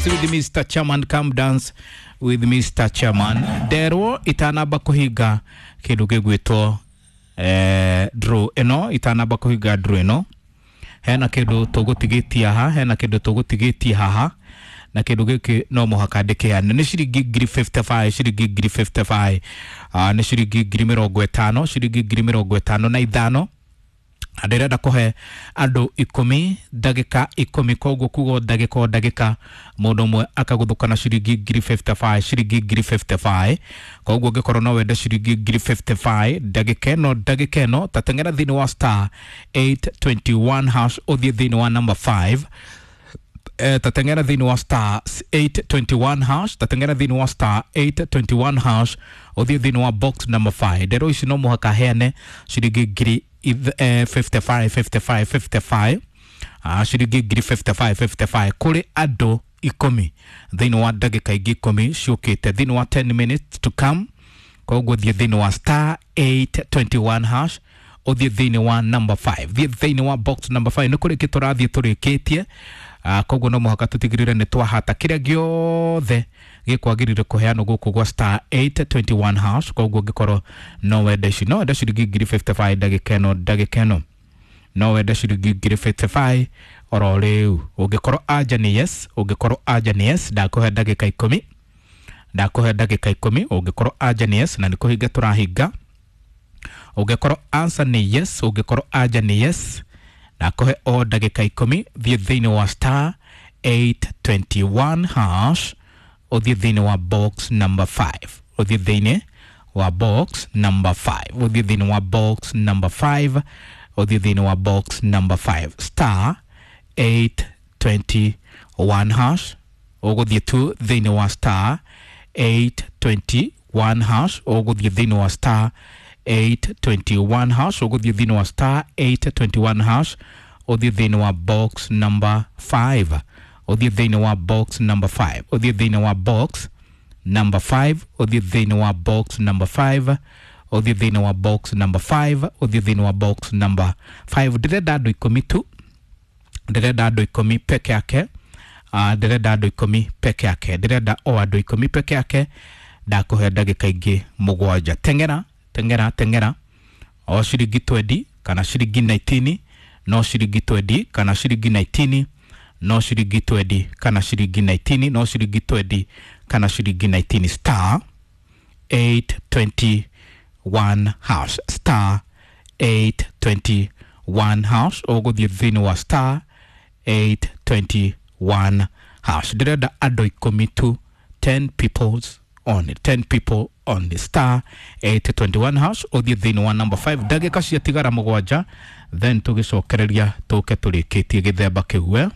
dance with Mr. Chairman, come dance with Mr. Chairman. Nderwo itanamba kuhinga kindu gigwitwo draw ino, itanamba kuhinga draw ino, hena kindu tugutigitie haha, hena kindu tugutigitie haha, na kindu giki no muhaka ndikiheane. Ni ciringi ngiri 55, ciringi ngiri 55, ni ciringi ngiri mĩrongo ĩtano, ciringi ngiri mĩrongo ĩtano na ithano. Na ndĩrenda kũhe andũ ikũmi ndagĩka ikũmi, koguo kuga o ndagĩka o ndagĩka mũndũ ũmwe akagũthũka na ciringi ngiri 55, ciringi ngiri 55. Koguo ũngĩkorwo no wende ciringi ngiri 55 ndagĩka ĩno, ndagĩka ĩno, ta teng'era thĩinĩ wa star 821 hash, ũthiĩ thĩinĩ wa number 5. Tateng'era thĩinĩ wa star 821 hash, tateng'era thĩinĩ wa star 821 hash, ũthiĩ thĩinĩ wa box number 5. Ndero ici no mũhaka heane ciringi ngiri 55 55 55, ciringi ngiri 55 55 kũrĩ andũ ikũmi thĩinĩ wa ndagĩka ingĩ ikũmi ciũkĩte, thĩinĩ wa 10 minutes to come. Koguo thiĩ thĩinĩ wa star 821 hash, ũthiĩ thĩinĩ wa number 5, thiĩ thĩinĩ wa box number 5. Nĩ kũrĩkia tũrathiĩ tũrĩkĩtie. Koguo no mũhaka tũtigĩrĩre nĩ twahata kĩrĩa gĩothe gĩkwagĩrĩire kũheanwo gũkũ gwa star 821 hash. Koguo ũngĩkorwo no wende ici, no wende ciringi ngiri 55 ndagĩka ĩno, ndagĩka ĩno no wende ciringi ngiri 55 oro rĩu. Ũngĩkorwo anja nĩ yes, ũngĩkorwo anja nĩ yes, ndakũhe ndagĩka ikũmi, ndakũhe ndagĩka ikũmi. Ũngĩkorwo anja nĩ yes, na nĩ kũhinga tũrahinga. Ũngĩkorwo answer nĩ yes, ũngĩkorwo anja nĩ yes, ndakũhe o ndagĩka ikũmi. Thiĩ thĩinĩ wa star 821 hash, ũthiĩ thĩinĩ wa box number 5, ũthiĩ thĩinĩ wa box number 5, ũthiĩ thĩinĩ wa box number 5, ũthiĩ thĩinĩ wa box number 5, star 821 hash. Ũgũthiĩ tu thĩinĩ wa star 821 hash, ũgũthiĩ thĩinĩ wa star 821 hash, ũgũthiĩ thĩinĩ wa star 821 hash, ũthiĩ thĩinĩ wa box number 5, ũthiĩ thĩinĩ wa box number 5, ũthiĩ thĩinĩ wa box number 5, ũthiĩ thĩinĩ wa box number 5, ũthiĩ thĩinĩ wa box number 5, ũthiĩ thĩinĩ wa box number 5. Ndĩrenda andũ ikũmi tu, ndĩrenda andũ ikũmi peke yake. Ndĩrenda andũ ikũmi peke yake, ndĩrenda o andũ ikũmi peke yake. Ndakũhe ndagĩka ingĩ mũgwanja. Teng'era, teng'era, teng'era. O ciringi 20 kana ciringi 19, no ciringi 20 kana ciringi 19, no ciringi 20 kana ciringi 19, no ciringi 20 kana ciringi 19. Star 821 hash, star 821 hash, ũgũthiĩ thĩinĩ wa star 821 hash. Ndĩrenda andũ ikũmi tu, 10 peoples on 10 people on the star 821 hash, ũthiĩ thĩinĩ wa number 5. Ndagĩka ciatigara mũgwanja, then tũgĩcokereria tũke tũrĩkĩtie gĩthemba kĩu.